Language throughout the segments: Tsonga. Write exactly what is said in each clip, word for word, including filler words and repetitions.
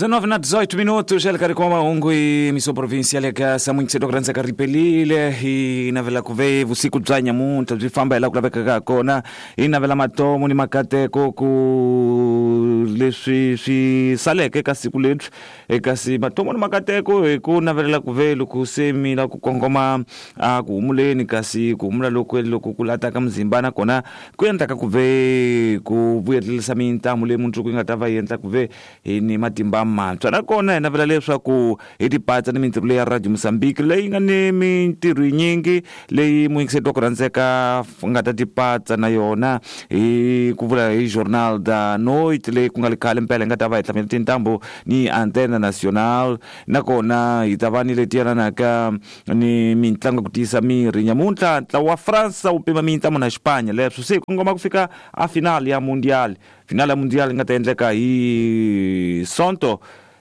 dezenove na dezoito minutos, Elkari kwa mahungu miso provincial ya Samuinsedo kuranza karipelile hi navela kuve vusiku bya nyamuntlha byi famba hi la ku lavekaka kona hi navela matomo ni makateko ku leswi swi saleke ka siku lebyi kasi matomo ni makateko hi ku navelela kuve loko se mi la ku kongoma a ku humuleni kasi ku humula loko loko ku lataka mzimba na kona ku endlaka kuve ku vuyelerisa mintamu leyi mundzuku yi nga ta va yi endla kuve hi ni matimba mantshwa nakona hi navela leswaku hi tipatsa ni mintirho leyi ya Radio Mozambique leyi nga ni mintirho yinyingi leyi muyingiseri wa ku rhandzeka nga ta tipatsa na yona hi ku vula hi Journal da Noite leyi ku nga le khale mpela hi nga ta va hi hlamela tintambu ni Antena Nacional nakona hi ta va ni leti yelanaka ni mintlangu ku tiyisa miri nyamuntlha ntlawa wa France wu pima mintlamo na Xipanya leswo se hi kongoma ku fika a final ya Mundial final ya Mundial yi nga ta endleka hi Sonto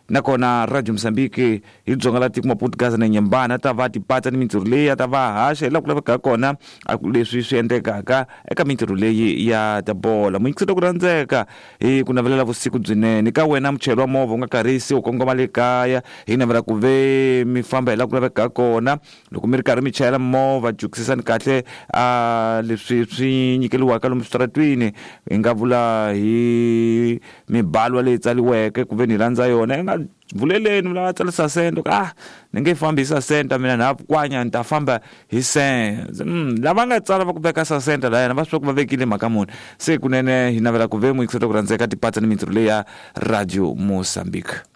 nakona Radio Mozambique hi dzonga la tiko Maputo Gaza na Nyembana ta va tipatsa ni mintirho leyi ya ta va haxa hi laha ku lavekaka kona leswi swi endlekaka eka mintirho leyi ya ta bola muyingiseri ku rhandzeka hi ku navelela vusiku byinene ka wena muchayeri wa movha u nga karhisi u kongoma le kaya hi navela ku ve mi famba hi laha ku lavekaka kona loko mi ri karhi mi chayela movha jukisisani kahle a leswi swi nyikeliwaka lomu switaratwini hi nga vula hi mibalwa leyi tsaliweke ku ve ni landza yona yi nga vuleleni mi lava tsarisa sente ah ni nge fambi hi sasenta mina na kwanya ni ta famba hi sente mm, lava nga tsala va ku veka sasenta la yena va swi ku va vekile mhaka muni se kunene hi navela ku ve muyingiseri ku rhandzeka tipatsa ni mintirho leyi ya Radio Mozambique.